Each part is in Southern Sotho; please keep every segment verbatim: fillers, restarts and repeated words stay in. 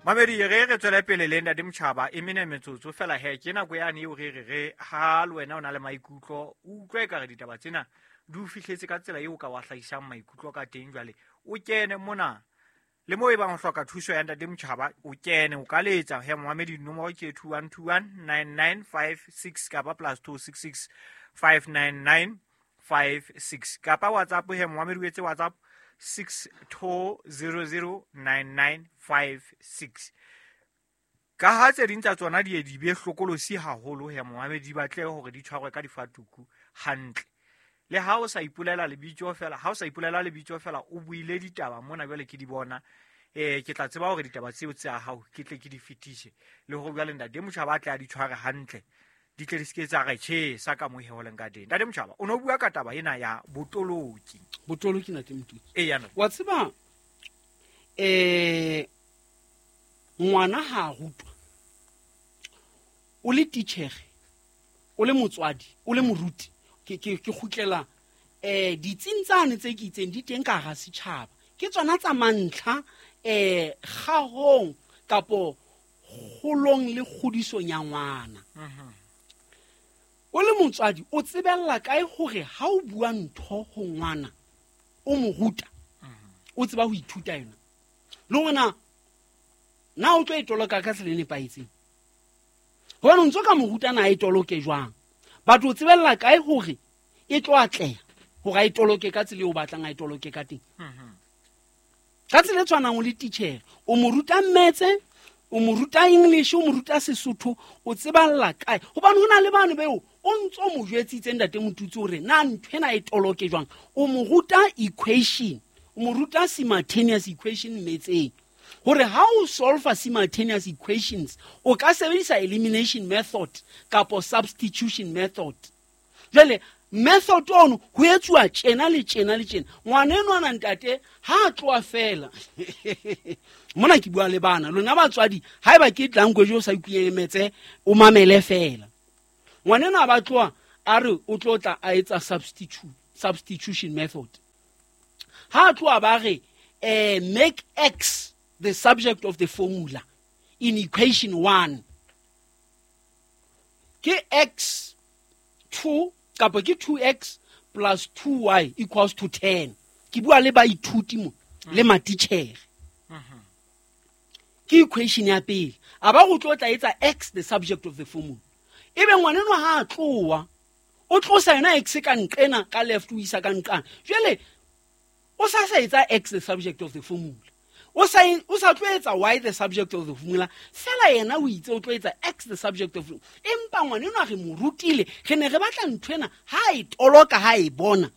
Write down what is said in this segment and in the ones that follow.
Mamedi, re re tswele pele le Ntate Motjhaba e mene metsotso fela he ke nako yane eo re re re ha le wena o na le maikutlo o utlwe ekare ditaba tsena di o fihletse ka tsela eo o ka wa hlahisang maikutlo ka teng. Jwale o kene mona le moo e bang o hloka thuso ya Ntate Motjhaba, o kene o ka letsa he momamedi, nomoro ke two one two one nine nine five six kapa plus two six six five nine nine five six kapa WhatsApp he momamedi o etse WhatsApp six two zero zero nine nine five six. Ka ha tse ding tsa tsona di ye di be hlokolosi haholo he momamedi, di batle hore di tshwarwe ka difatuku hantle. Le ha o sa ipolela lebitso fela, ha o sa ipolela lebitso fela, o buile ditaba mona jwale ke di bona. Eh, ke tla tseba hore ditaba tseo tsa hao ke tle ke di fetise. Le hore jwale Ntate Motjhaba a tle a di tshware hantle, di tle di se ke tsa re tjhe sa ka moo he ho leng ka teng. Ntate Motjhaba, o no bua ka taba ena ya botoloki. Botoloki, Ntate Motutsi. Eya, no. Wa tseba, eh, ngwana ha a rutwa, o le titjhere, o le motswadi, o le moruti, ke, ke, ke kgutlela, eh, ditsing tsane tse ke itseng di teng ka hara setjhaba. Ke tsona tsa mantlha, eh, kgahong kapo kgolong le kgodisong ya ngwana. Mhm. O le motswadi, o tsebella kae hore ha o bua ntho ho ngwana, o mo ruta, o tseba ho ithuta yona? Le hore na, na o tlo e toloka ka tsela e nepahetseng? Hobane o ntso ka mo ruta na e toloke jwang? Batho o tsebella kae hore e tlo atleha hore a e toloke ka tsela eo o batlang a e toloke ka teng? Mhm. Ka tsela e tshwanang o le titjhere, o mo ruta mmetse, o mo ruta English, o mo ruta Sesotho, o tseballa kae? Hobane ho na le bano beo o ntso mo jwetsitse Ntate Motutsi hore na nthwena e toloke jwang. O mo ruta equation, o mo ruta simultaneous equation mmetseng. Hore ha o solve simultaneous equations, o ka sebedisa elimination method kapo substitution method. Jwale method ono ho etsuwa tjena le tjena le tjena. Ngwana enwa na ntate ha a tloha fela. Mona ke bua le bana, lona batswadi, haeba ke language o sa ikuemetse, o mamele fela. Ngwana enwa ba tloha a re o tlo tla a etsa substitute, substitution method. Ha a tloha ba re, eh, make X the subject of the formula in equation one. Ke X two kapa ke two X plus two Y equals to ten. Ke bua le baithuti mo le matitjhere. Ke equation ya pele. A ba go tlo tla etsa X the subject of the formula. Ebe ngwana enwa ha a tloha, o tlosa yona X ka nqena ka left o isa ka nqana. Jwale o sa sa etsa X the subject of the formula. O sa, o sa tlo etsa Y the subject of the formula. Fela yena o itse o tlo etsa X the subject of the formula. Empa ngwana enwa re mo rutile, re ne re batla nthwena ha e toloka ha e bona.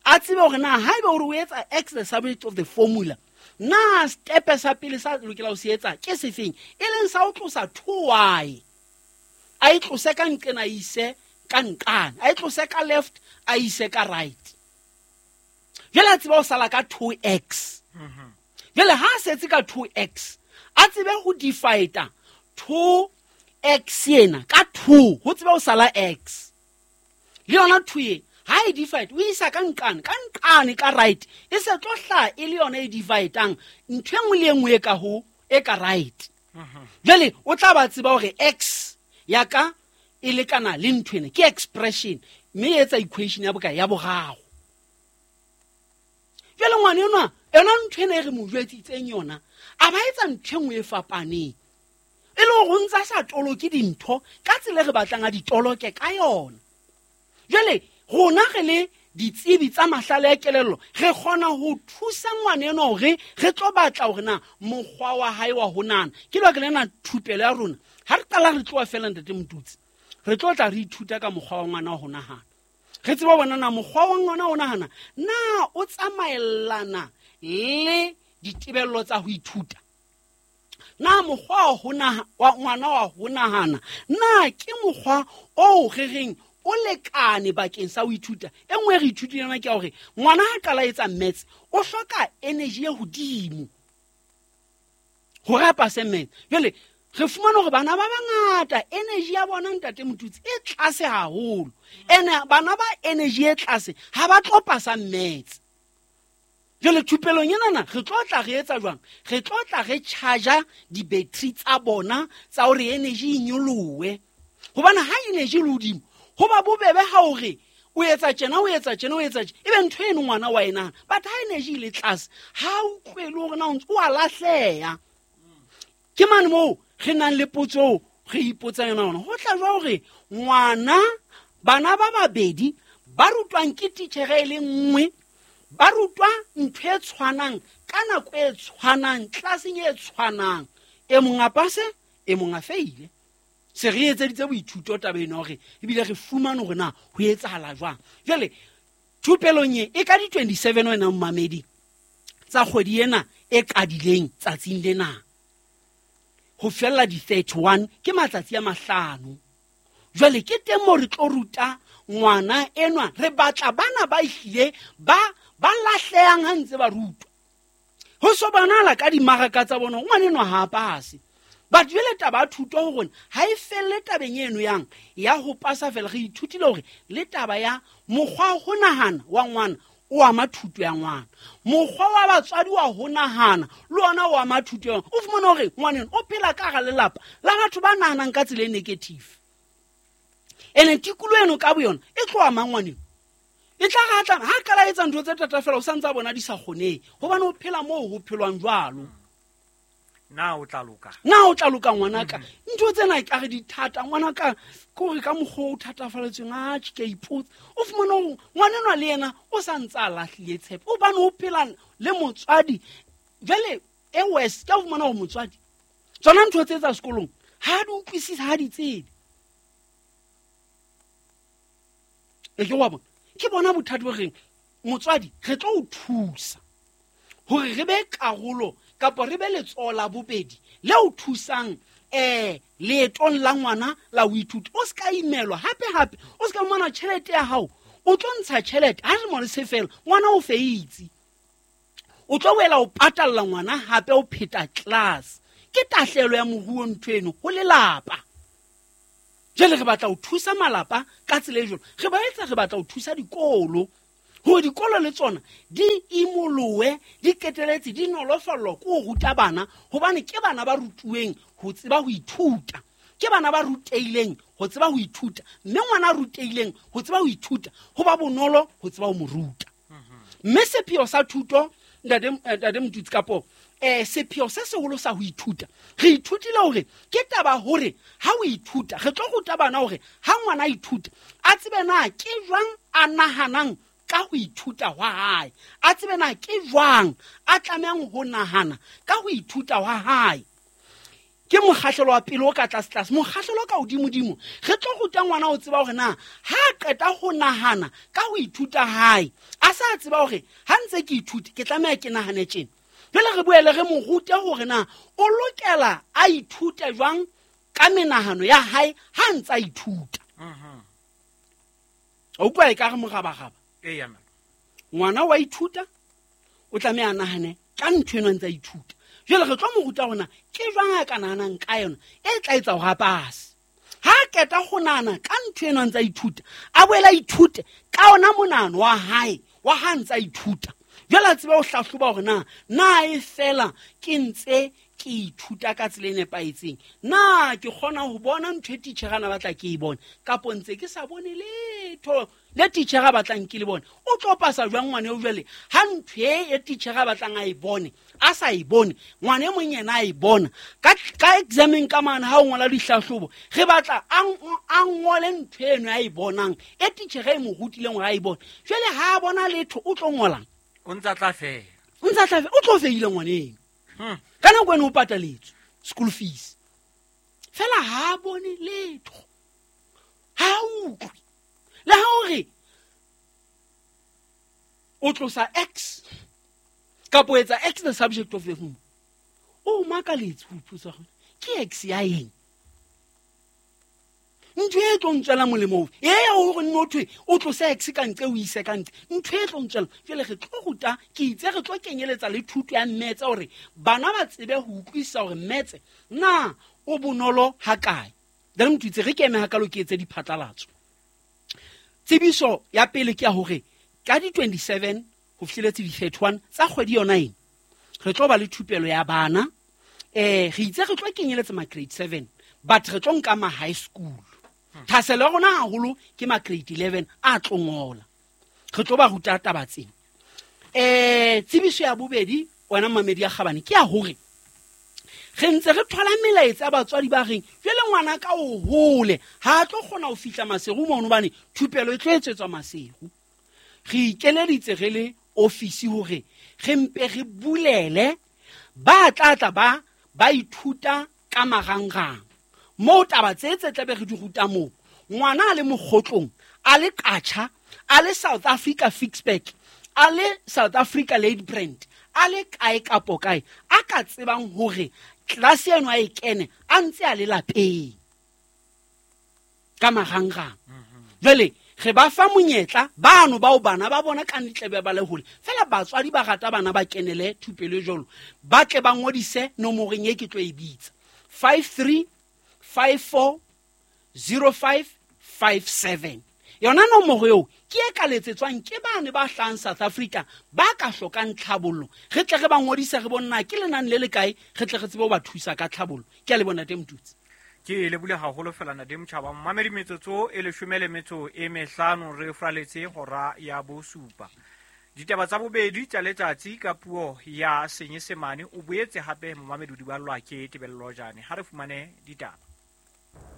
A tsebe hore na haeba o re o etsa X the subject of the formula, na step sa pele sa lokela ho se etsa ke sefeng? E leng sa ho tlosa two Y. A e tlose ka nqena a ise ka nqane. A e tlose ka left, a ise ka right. Jwale a tseba ho sala ka two X. Mhm. Jwale ha a setse ka two X, a tsebe ho divide two X ena ka two, ho tsebe ho sala X. Le yona two e, ha e divide, o isa ka nqane, ka nqane ka right, e se tlo hlaha e le yona e dividang ntho e nngwe le e nngwe e ka ho, e ka right. Mhm. Jwale o tla ba tseba hore X ya ka e lekana le ntho ena, ke expression, mme e etsa equation ya bokae? Ya boraro. Jwale ngwana enwa, yona ntho ena e re mo jwetsitseng yona, a ba etsa ntho e nngwe e fapaneng. E le hore o ntsa sa toloke dintho ka tsela e re batlang a di toloke ka yona. Jwale rona re le ditsebi tsa mahlale a kelello, re kgona ho thusa ngwana enwa hore re tlo batla hore na mokgwa wa hae wa ho nahana. Ke lebaka lena thupelo ya rona, ha re qala re tloha fela Ntate Motutsi, re tlo tla re ithuta ka mokgwa wa ngwana wa ho nahana. Re tseba bona na mokgwa wa ngwana wa ho nahana na o tsamaellana le ditebello tsa ho ithuta. Na mokgwa wa ho naha-, wa ngwana wa ho nahana na ke mokgwa oo re reng o lekane bakeng sa ho ithuta. E nngwe re ithutile yona ke ya hore ngwana ha qala etsa maths o hloka energy e hodimo hore a pase maths. Jwale re fumana hore bana ba bangata energy ya bona Ntate Motutsi e tlase haholo. Ene bana ba energy e tlase ha ba tlo pasa maths. Jwale thupelong enana re tlo tla re etsa jwang? Re tlo tla re charge di-battery tsa bona tsa hore energy e nyolohe. Hobane ha energy e le hodimo, ho ba bobebe ha hore o etsa tjena, o etsa tjena, o etsa tjena, ebe ntho eno ngwana wa e nahana. But ha energy e le tlase, ha o utlwele hore na o ntse o a lahleha. Ke mane moo re nang le potso re ipotsang yona hona. Ho tla jwang hore ngwana, bana ba babedi ba rutwang ke titjhere e le nngwe, ba rutwa ntho e tshwanang ka nako e tshwanang, tlelaseng e tshwanang, e mong a pase, e mong a feile. Se re etseditse boithuto taba ena hore ebile re fumane hore na ho etsahala jwang. Jwale thupelong e e ka di twenty-seven wena mmamedi tsa kgwedi ena e qadileng tsatsing lena ho fella di thirty-one, ke matsatsi a mahlano. Jwale ke teng moo re tlo ruta ngwana enwa, re batla bana ba ehlile ba ba lahlehang ha ntse ba rutwa. Ho so bonala ka dimaraka tsa bona ngwana enwa ha a pase. But jwale taba ya thuto ho rona ha e felle tabeng eno yang ya ho pasa fela. Re ithutile hore le taba ya mokgwa wa ho nahana wa ngwana o ama thuto ya ngwana, mokgwa wa batswadi wa ho nahana le ona o ama thuto ya ngwana. O fumana hore ngwana eno o phela ka hara lelapa la batho ba nahanang ka tsela e negative, ene tikoloho eno ka boyona e tlo ama ngwaneno. E tla re ha tla ha qala etsa ntho tse thata fela, o sa ntse a bona di sa kgonehe, hobane o phela moo ho phelwang jwalo. Na o tla loka? Na o tla loka ngwanaka? Ntho tsena e ka re di thata ngwanaka, ke hore ka mokgwa o thatafalletsweng, atjhe, ke a ipotsa. O fumana hore ngwana enwa le yena o sa ntse a lahlile tshepo, hobane o phela le motswadi. Jwale e worse, ke a fumana hore motswadi tsona ntho tse tsa sekolong ha di utlwisise, ha di tsebe. E ke wa bona? Ke bona bothata bo reng motswadi re tlo o thusa hore re be karolo kapa re be letsoho la bobedi le o thusang eh leetong la ngwana la ho ithuta. O ska imelwa hape hape, o ska fumana tjhelete ya hao, o tlo ntsha tjhelete ha re mo le se fela, ngwana o feitse, o tlo boela o patalla ngwana hape o pheta class. Ke tahlehelo ya moruo ntho eno ho lelapa. Jwale re batla ho thusa malapa ka tsela e jwalo, re ba etsa re batla ho thusa dikolo hore dikolo le tsona di imolohe, di qeteletse di nolofallwa ke ho ruta bana, hobane ke bana ba rutuweng ho tseba ho ithuta, ke bana ba rutehileng ho tseba ho ithuta, mme ngwana a rutehileng ho tseba ho ithuta ho ba bonolo ho tseba ho mo ruta. Mme sepheo sa thuto, ntate, ntate Motutsi, kapo eh sepheo se seholo sa ho ithuta, re ithutile hore ke taba hore ha o ithuta, re tlo ruta bana hore ha ngwana a ithuta a tsebe na ke jwang a nahanang ka ho ithuta hwa hae, a tsebe na ke jwang a tlamehang ho nahana ka ho ithuta hwa hae. Ke mokgahlelo wa pele o ka tlase tlase. Mokgahlelo o ka hodimodimo, re tlo ruta ngwana ho tseba hore na ha a qeta ho nahana ka ho ithuta hae, a sa tseba hore ha ntse ke ithuta ke tlameha ke nahane tjena. Jwale re boele re mo rute hore na o lokela a ithute jwang ka menahano ya hae ha ntse a ithuta. O utlwa e ka re morabaraba. Eya, mama. Ngwana wa ithuta, o tlameha a nahane ka ntho eno a ntse a ithuta. Jwale re tlo mo ruta hore na ke jwang a ka nahanang ka yona e tla etsa hore a pase. Ha a qeta ho nahana ka ntho eno a ntse a ithuta, a boele a ithute ka ona monahano wa hae wa ha ntse a ithuta. Jwale a tsebe ho hlahloba hore na na e fela ke ntse ke ithuta ka tsela e nepahetseng, na ke kgona ho bona ntho e titjhere a na batla ke e bone, kapo ntse ke sa bone letho le titjhere a batlang ke le bone. O tlo pasa jwang ngwana eo jwale ha ntho e e titjhere a batlang a e bone a sa e bone, ngwana e mong yena a e bona ka, ka exameng ka mane ha o ngola dihlahlobo, re batla a ng-, a ngole ntho eno a e bonang e titjhere e mo rutileng hore a e bone. Jwale ha a bona letho o tlo ngolang? O ntsa tla fela. O ntsa tla fela, o tlo feile ngwaneng. Hmm. Ka nako eno o pataletswe school fees, fela ha a bone letho, ha a utlwe. Le ha o re o tlosa X kapo etsa X the subject of the room, o makaletse ho ipotsa hore ke X ya eng? Ntho e tlo ntswela molemo ofe? E ya hore nno thwe o tlose X ka ntle o ise ka ntle, ntho e tlo ntswela. Jwale re tlo ruta, ke itse re tlo kenyeletsa le thuto ya mmetse hore bana ba tsebe ho utlwisisa hore mmetse na o bonolo ha kae. Then motho itse re ke eme hakalo ke etse diphatlalatso. Tsebiso ya pele ke ya hore ka di twenty-seven ho fihleletse di-thirty-one tsa kgwedi yona ena re tlo ba le thupelo ya bana. Eh re itse re tlo kenyeletsa ma grade seven, but re tlo nka ma high school. Thaselo ya rona haholo ke ma grade eleven a tlo ngola, re tlo ba ruta taba tsena. Eh tsebiso ya bobedi wena mamedi ya kgabane ke ya hore re ntse re thola melaetsa ya batswadi ba reng jwale ngwana ka o hole ha tlo kgona ho fihla Maseru mono hobane thupelo e tlo etsetswa Maseru. Re ikeleditse re le ofisi hore re mpe re bulele ba tla tla ba ba ithuta ka marangrang moo taba tse tse tlabe re di ruta moo. Ngwana a le Mokgotlong, a le Qacha, a le South Africa Fixback, a le South Africa Late Brand, a le kae kapo kae a ka tsebang hore tlase eno a e kene a ntse a le lapeng ka marangrang. Jwale re ba fa monyetla bano bao bana ba bona ka ntle ba le hole fela batswadi ba rata bana ba kenele thupelo e jwalo, ba tle ba ngodise nomoreng e ke tlo e bitsa five three five four zero five five seven. Yona nomoro eo ke e ka letsetswang ke bane ba hlahang South Africa ba ka hlokang tlhabollo, re tle re ba ngodise re bonna ke lenane le le kae, re tle re tsebe ho ba thusa ka tlhabollo. Ke a le bona teng Motutsi. Ke lebule haholo fela ntate Motjhaba. Mamedi metsotso e leshome le metso e mehlano re fraletse hora ya bosupa. Ditaba tsa bobedi tsa letsatsi ka puo ya Senyesemane o boetse hape momamedi o di ballwa ke Tebello Jane. Ha re fumane ditaba.